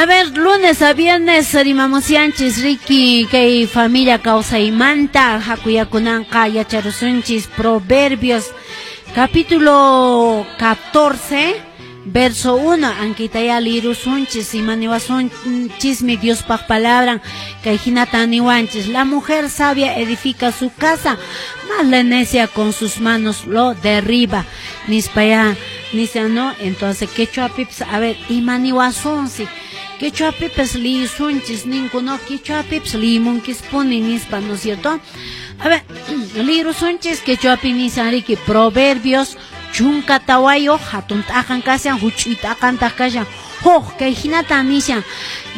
A ver, lunes a viernes rimamusyanchis riki kay familia kawsaymanta hakuyakunanqa yacharusunchis Proverbios capítulo 14 verso 1 ankitaya lirusunchis imaniwasunchismi Diospaq palabran kay hinata niwanchis: "La mujer sabia edifica su casa, mas la necia con sus manos lo derriba", nispaya nisyan, ¿no? Entonces quechuapipas, a ver, imaniwasunsi quechuapipas liisunchis ninku, no? Quechuapipas liimunkispuni nispa, ¿no es cierto? A ver, lirusunchis quechuapi nisan riki Proverbios 14 hatun t'aqan kashan, huch'uy t'aqantaq kashan huk, kay hinata nishan: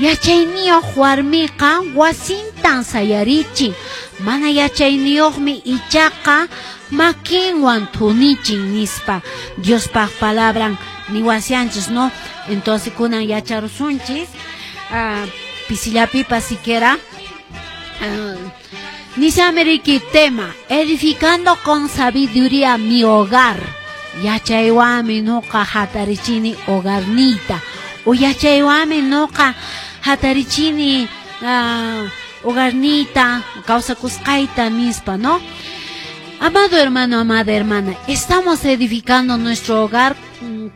"Yachayniyuq warmiqa wasintan sayarichin, mana yachayniyuqmi ichaqa makinwan thunichin", nispa Diospaq palabran niwasyanchis, ¿no? Entonces kunan yacharusunchis pisillapipas siquiera. Nisame riki tema: "Edificando con sabiduría mi hogar". Yachaywanmi nuqa hatarichini hogarniyta o yachaywanmi nuqa hatarichini hogarniyta, kawsakusqayta nispa, ¿no? Amado hermano, amada hermana, ¿estamos edificando nuestro hogar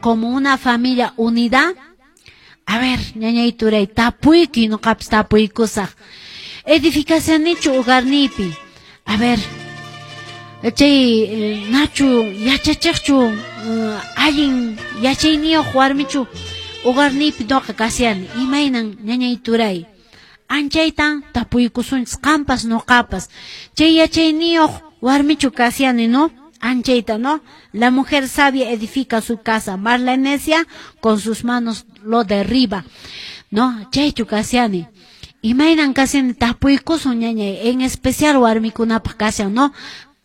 como una familia unida? A ver, ñañay turay, tapuyki, nuqapas tapuykusaq. Edificacionichu hogarniypi? A ver, chay nachu yachachiqchu, allin yachayniyuq warmichu hogarniypi nuqa kashani? Imaynan, ñañay turay? Anchaytan tapuykusunchis qampas nuqapas. Chay yachayniyuq warmichu kashani, ¿no? Anchayta, ¿no? La mujer sabia edifica su casa, mas la necia con sus manos lo derriba, ¿no? Chaychu kashani? Imaynan kashani? Tapuykusun, ñañay, en especial warmikunapaq kashan, ¿no?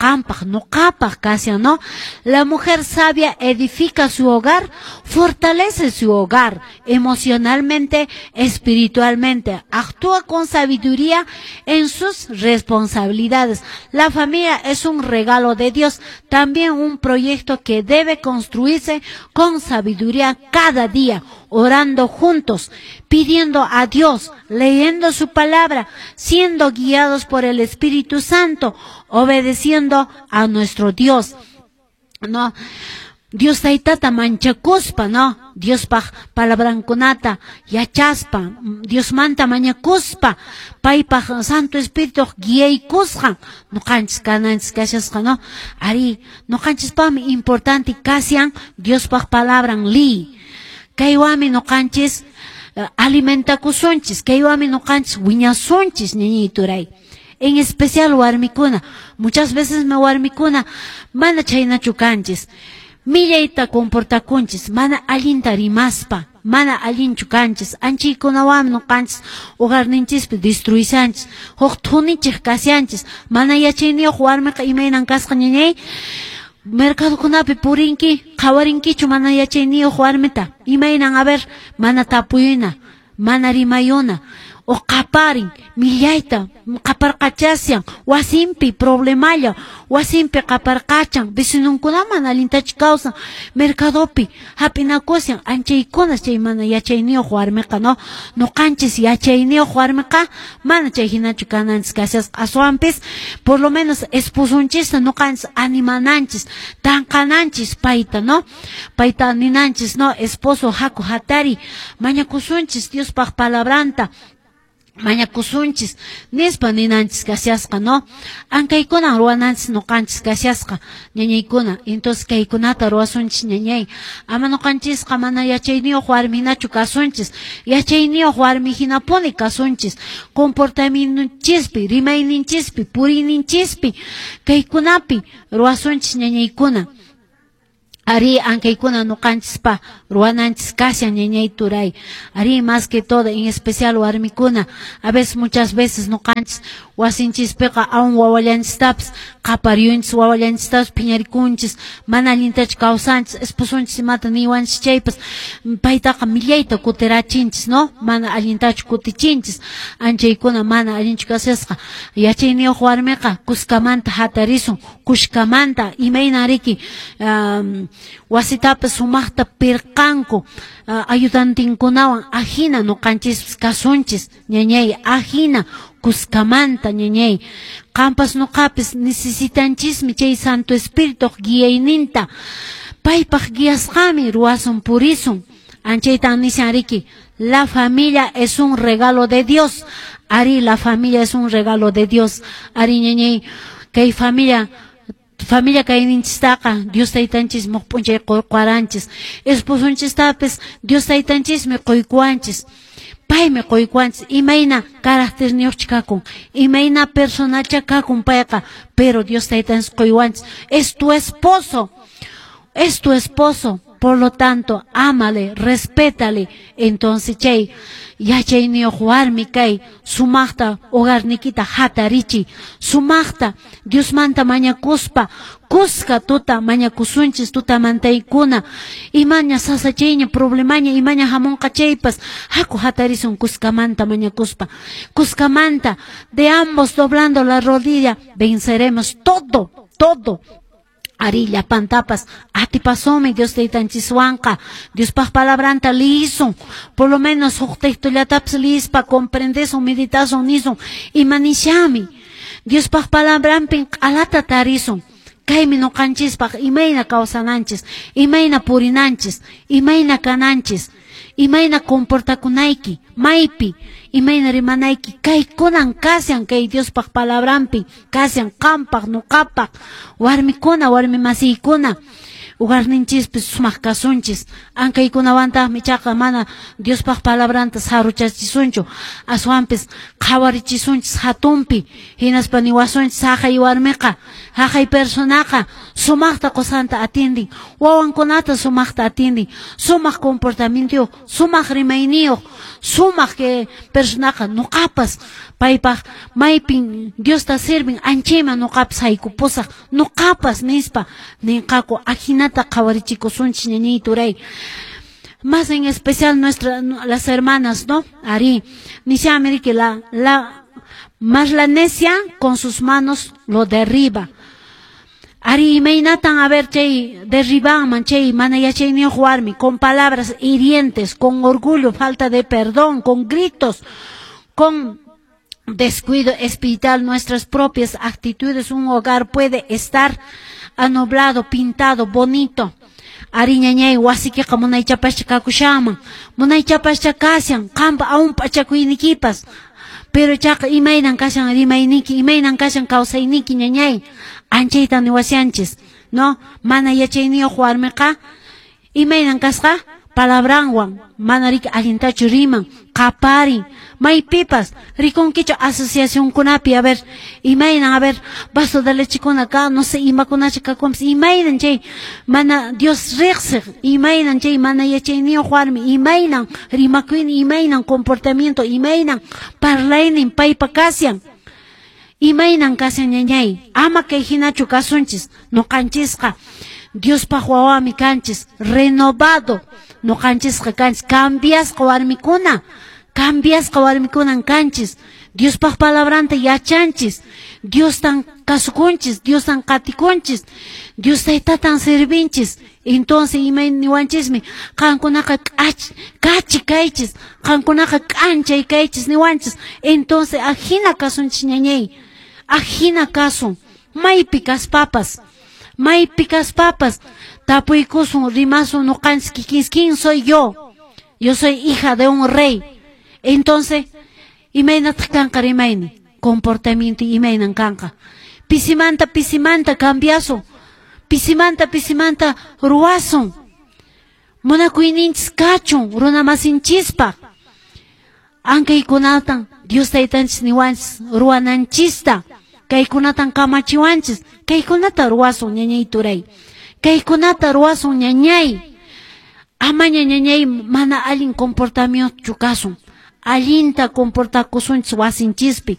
Qampaq, nuqapaq kashan, ¿no? La mujer sabia edifica su hogar, fortalece su hogar emocionalmente, espiritualmente, actúa con sabiduría en sus responsabilidades. La familia es un regalo de Dios, también un proyecto que debe construirse con sabiduría cada día, orando juntos, pidiendo a Dios, leyendo su palabra, siendo guiados por el Espíritu Santo, obedeciendo a nuestro Dios. ¿No? Dios taytata manchakuspa, ¿no? Diospaq palabrankunata yachaspa, Diosmanta mañakuspa, paypaq Santo Espíritu guiaykusqan nuqanchis kananchis kashasqa, ¿no? Ari, nuqanchispaqmi importante kashan Diospaq palabran liy. Kaywanmi nuqanchis alimentakusunchis, kaywanmi nuqanchis wiñasunchis, ñañay turay. En especial warmikuna, muchas veces me warmikuna mana chhaynachu kanchis. Millayta comportakunchis, mana allinta rimaspa, mana allinchu kanchis, anchaykunawanmi nuqanchis hogarninchispi destruishanchis, huk thunichiq kashanchis. Mana yachayniyuq warmiqa imaynan kasqa, ñañay? Mercadokunapi purinki, qhawarinkichu mana yachayniyuq warmita? Imaynan, a ver, mana tapuyuna, mana rimayuna, o qaparin, millayta qaparqachasyan, wasinpi problemalla, wasinpi qaparqachan, vecinunkuna mana allintachu kawsan, mercadopi hap'inakusyan, anchaykunas chay mana yachayniyuq warmiqa, ¿no? Nuqanchis yachayniyuq warmiqa mana chay hinachu kananchis kashasqa, aswanpis por lo menos esposunchista nuqanchis animananchis, tanqananchis payta, ¿no? Payta ninanchis, ¿no? "Esposo, haku hatari, mañakusunchis Diospaq palabranta, mañakusunchis", nispa ninanchis kashasqa, ¿no? Ankaykuna ruwananchis nuqanchis kashasqa, ñañaykuna. Entonces kaykunata ruwasunchis, ñañay. Ama nuqanchisqa mana yachayniyuq warmihinachu kasunchis, yachayniyuq warmi hinapuni kasunchis, comportamientonchispi, rimayninchispi, puriyninchispi, kaykunapi ruwasunchis, ñañaykuna. Ari, ankaykuna nuqanchispa ruwananchis kashan, ñañay turay. Ari, más que todo, en especial warmikuna, a veces, muchas veces nuqanchis wasinchispiqa aún wawallanchistapas qapariyunchis, wawallanchistapas phiñarikunchis, mana allintachu kawsanchis, esposunchis imata niwanchis chaypas paytaqa millayta kutirachinchis, ¿no? Mana allintachu kutichinchis. Anchaykuna mana allinchu kashasqa. Yachayniyuq warmiqa kuskamanta hatarisun, kushkamanta imaynan riki. Wasitapas sumaqta pirqanku ayudantinkunawan, ajina nuqanchispas kasunchis, ñañay, ajina kuskamanta, ñañay. Qampas nuqapis necesitanchismi chay Santo Espíritu guiayninta. Paypaq guiasqami ruwasun purisun. Anchaytan nishan riki, la familia es un regalo de Dios. Ari, la familia es un regalo de Dios. Ari, ñañay, kay familia familia kayninchistaqa Dios taytanchismi p'unchay quykuwaranchis. Esposunchistapis Dios taytanchismi quykuwanchis. Paymi quykuwanchis, imayna caracterniyuqcha kakun, imayna personacha kakun payqa, pero Dios taytanchis quywanchis. Es tu esposo, es tu esposo. Por lo tanto, ámale, respétale. Entonces, chay yachayniyuq warmi kay, sumaqta hogarnikita hatarichi, sumaqta Diosmanta mañakuspa, kuska tuta mañakusunchis tutamantaykuna, imaña sasachayña problemaña imaña hamunqa chaypas, haku hatarisun kuskamanta mañakuspa, kuskamanta, de ambos doblando la rodilla, venceremos todo, todo. Ari llapantapas atipasunmi Dios taytanchiswanqa, Diospaq palabranta liyisun, por lo menos huk textollatapas liyispa comprendesun, meditasun, nisun, ima nishami. Diospaq palabranpin q'alata tarisun. Kaymi nuqanchispaq imayna kawsananchis, imayna purinanchis, imayna kananchis, imayna comportakunayki, maypi, imayna rimanayki, kaykunan kashan kay Diospaq palabranpi, kashan qampaq, nuqapaq, warmikuna, warmi masiykuna, hogarninchispis sumaq kasunchis, ankaykunawantaqmi ichaqa mana Diospaq palabranta saruchachisunchu, aswanpis qhawarichisunchis hatunpi, hinaspa niwasunchis haqay warmiqa, haqay personaqa sumaqta qusanta atindin, wawankunata sumaqta atindin, sumaq comportamientuyuq, sumaq rimayniyuq, sumaq que personaqa nuqapas paypaq maypin Diosta sirvin anchayman nuqapas haykupusaq, nuqapas nispa ninqaku, ajinata qhawarichikusunchis ñañay turay. Más en especial las hermanas, ¿no? Ari, nishami que la más la necia con sus manos lo derriba. Ari, imaynatan a ver chay derribanman chay mana yachayniyuq warmi con palabras hirientes, con orgullo, falta de perdón, con gritos, con descuido espiritual, nuestras propias actitudes. Un hogar puede estar amoblado, pintado, bonito. Ari ñañay wasikiqa munaychapascha kakushanman, munaychapascha kashan, qampa aún p'achakuynikipas. Pero chaqa imaynan kashan rimayniki, imaynan kashan kawsayniki ñañay, anchayta niwashanchis, ¿no? Mana yachayniyuq warmiqa imaynan kasqa palabranwan, mana riki allintachu riman, qaparin, maypipas rikunkichu asociacionkunapi, a ver, imaynan, a ver, vaso de lechekuna ka, no sé, imakunacha kakunpas, imaynan chay mana Dios riqsiq, imaynan chay mana yachayniyuq warmi, imaynan rimakuynin, imaynan comportamiento, imaynan parlaynin paypa kashan, imaynan kashan ñañay, ama kay hinachu kasunchis, nuqanchisqa Diospaq wawami kanchis, renovado nuqanchisqa kanchis, cambiasqa warmikuna, cambiasqa warmikunan kanchis, Diospaq palabranta yachanchis, Diostan kasukunchis, Diostan qatikunchis, Dios taytatan servinchis. Entonces imay niwanchismi, qankunaqa kachi kaychis, qankunaqa k'anchay kaychis niwanchis. Entonces ajina kasunchis ñañay, ajina kasun, maypi kaspapas, maypi kaspapas, tapuykusun, rimasun nuqanchis kikinchis, ¿quién soy yo? Yo soy hija de un rey. Entonces, imaynataq kanqa rimayni, comportamiento imaynan kanqa. Pisimanta, pisimanta cambiasun, pisimanta, pisimanta ruwasun. Munakuyninchis kachun runamasinchispaq. Ankaykunatan Dios taytanchis niwanchis ruwananchista, kaykunatan kamachiwanchis, kaykunata ruwasun ñañay turay, kaykunata ruwasun ñañay. Amaña ñañay mana allin comportamiento kasun, allinta comportakusunchis wasinchispi.